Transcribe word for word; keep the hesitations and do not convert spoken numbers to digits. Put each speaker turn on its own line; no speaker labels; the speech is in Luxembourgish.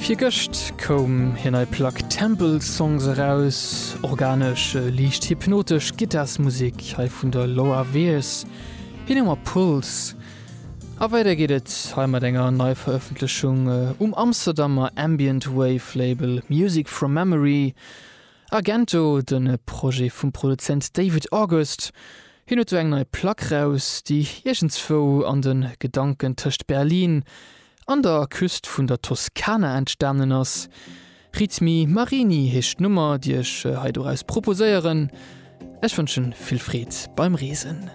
Virgëscht koum hir nei Plack Temple Songs eraus, organesch, liicht hypnotesch Gittarsmusek hei vun der Laura Veirs, hir Nummer Pulse. A weider geet et hei mat enger Neiverëffentlechung um Amsterdamer Ambient Wave Label Music From Memory. Argento, de Projet vum Produzent David August, hien huet do eng nei Plack raus, déi iergendswou an de Gedanken tëscht Berlin an der Küst vun der Toskana entstanen ass. Ritmi Marini heescht d'Nummer, déi ech hei doraus proposéieren. Ech wënschen vill Freed beim Reesen.